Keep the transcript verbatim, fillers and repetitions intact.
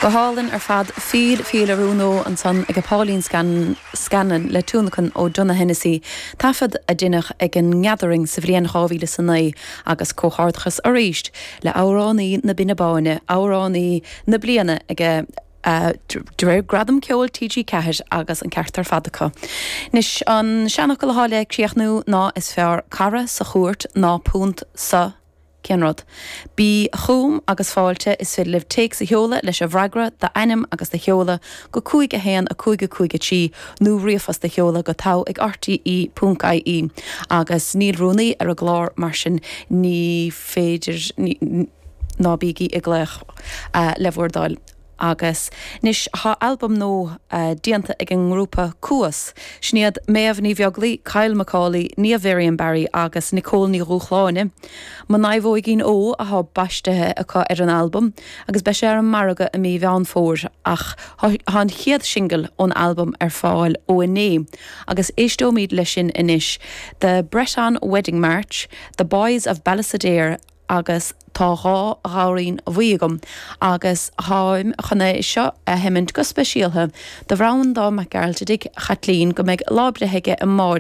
Go hálainn ar fad Feel Feel a Rún Ó ansan ag Pauline Scan Scanlon le tionlacan ó Donogh Hennessy, taifead a deineadh ag an nGathering sa bhliain dhá mhíle is a naoi agus comhghairdeachas arís le amhránaí na Binne Báine, amhránaí na bliana ag de réir Gradam Ceoil TG Ceathair agus an ceart ar fad acu. Anois an seanfhocal atá le críochnú ná is fearr cara sa chúirt ná punt sa Cén rud? Bí chugam agus fáilte is féidir libh téacs a sheoladh leis an bhfreagra, d'ainm agus do sheoladh go cúig a haon a cúig a cúig a trí nó ríomhphost a sheoladh go togha ag rte ponc ie agus níl rúnaí ar an gclár mar sin ní féidir ná bígí ag glaoch le bhur dtoil. Agus anois tá albam nua déanta ag an ngrúpa Cuas. Sin iad Méabh Ní Bheaglaoich, Kyle Macaulay, Niamh Varian Barry agus Nicole Ní Dhúshláine. Mo Naomhóigín Ó atá baistithe acu ar an albam agus beidh sé ar an margadh i mí Mheán Fómhair ach tá an chéad singil ón albam ar fáil ó inné agus éisteoimid leis sin anois, The Breton Wedding March, The Boys of Ballysadare agus Tá dhá ghamhairín bhuí agam agus táim chun é seo a sheimint go speisialtha do Bhreandán Mac Gearailt i dtigh Chaitlín go mbeidh lá breithe aige amáireach.